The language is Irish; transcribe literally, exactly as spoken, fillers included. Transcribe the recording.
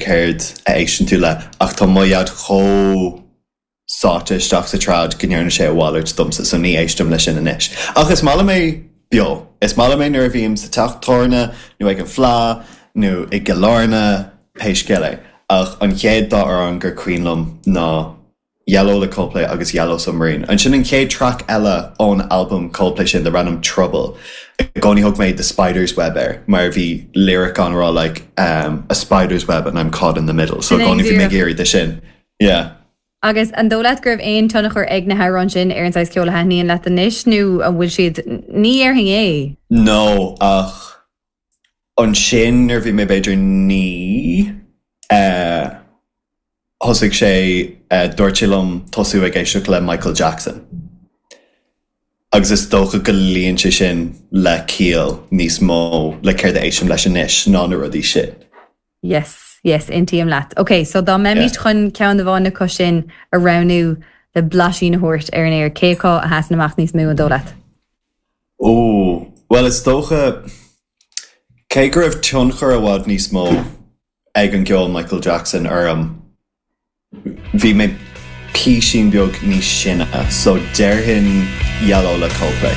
céard a éisteann tú le ach tá mo dhaid chomh sáite isteach sa trad go ndearna sé a mhalairt domsa so ní éistim leis sin anois. Ach is maith liom é beo. Is maith liom é nuair a bhím sa teach tábhairne nó ag an fleadh nó i gCill Airne pé scéal é. Ach an chéad dá amhrán gur cuimhin liom ná Yellow le Coldplay agus Yellow Submarine. Ansin an chéad track eile ón album Coldplay sin darb ainm Trouble. I gcónaí thug mé the Spider's Web air mar bhí lyric ann rá like um, a spider's web and I'm caught in the middle. So Sin é gcónaí bhí mé díreach. géirí de sin. Yeah. Agus an dóigh leat go raibh aon tionchar ag na hamhráin sin ar an saghas ceoil a thaitníonn leat anois nó an bhfuil siad ní déarfainn é. No ach ansin nuair bhí mé b'fhéidir naoi uh, thosaigh sé uh, dúirt sé liom tosú ag éisteacht le Michael Jackson. Agus is dócha go luíonn sé sin le ciall níos mó le céard a éistim leis anois ná na rudaí sin. Yes, yes, aontaím leat. Ok, so dá mbeimid Yeah. chun ceann amháin acu sin a roghnú le blaisín a thabhairt ar an aer cé acu a sheasann amach níos mó an dóigh leat. Ó, well is dócha cé go raibh tionchar i bhfad níos mó ag an gceol Michael Jackson orm bhí mé píosín beag níos sine, so déarfainn Yellow le Coldplay.